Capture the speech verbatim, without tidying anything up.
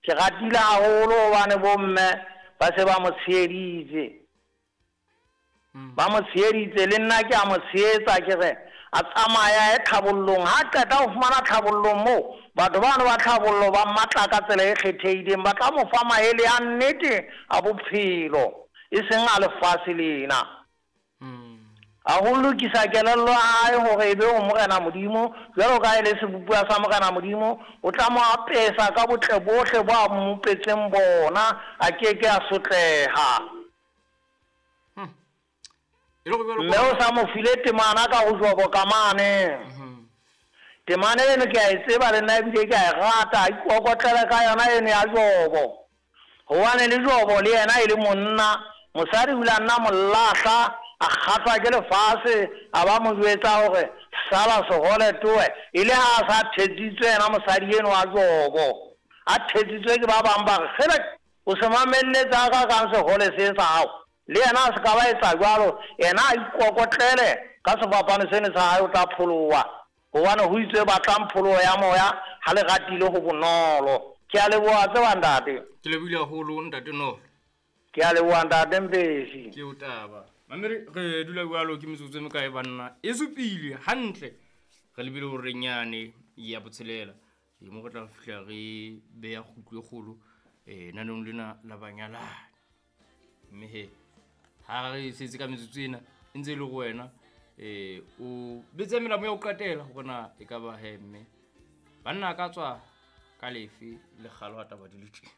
Ke ratile haholo hobane bomme ba se ba mo tsheheditse. Ba mo tsheheditse, le nna ke a mo tshehetsa, ke re a tsamaya a ye tlhabollong. Ha qeta ho fumana tlhabollong moo, batho bano ba tlhabollo ba mmatla ka tsela e kgethehileng, ba tla mo fa maele a nnete a bophelo, e seng a lefatshe lena. A ho lokisa kelello ya hae hore e be ho Morena Modimo, jwalo ka e le sebopuwa sa Morena Modimo, o tla mo apesa ka botle bohle bo a mmopetseng bona, a keke a sotleha. Mme o sa mo file temana ka ho Jobo ka mane. Temana eno ke a e tseba le nna ebile ke a e rata, a ikokotlele ka yona eno ya Jobo. Hobane le Jobo le yena e le monna, mosadi o ile a nna mo lahla, a kgahlwa ke lefatshe, a ba mo jwetsa hore sala sehole toe, e le ha a sa thetsitswe yena mosadi eno wa Jobo. A thetsitswe ke ba bang ba re, kgele, o se mamelletse a ka kang sehole se sa hao. Le yena a se ka ba etsa jwalo, yena a ikokotlele ka sefapano seno sa hae, o tla pholoha. Hobane ho itswe batlang pholoho ya moya, ha le ratile ho bonolo. Ke a leboha tseba ntate. Ke lebohile haholo ntate Nolo. Ke a leboha ntate Mpesi. Ke o taba. Mamere re dula jwalo ke metsotso e mekae banna? E supile hantle. Re lebile hore nyane ya botshelela. E mo re tla fihla re beya kgutlo e kgolo eh nanong lena la banyalani. Mme he ha re setse ka metsotso ena e ntse e le go wena eh o betse melamo ya ho qetela hore na e ka ba he mme banna ka tswa ka lefe le kgalo ha taba di le teng.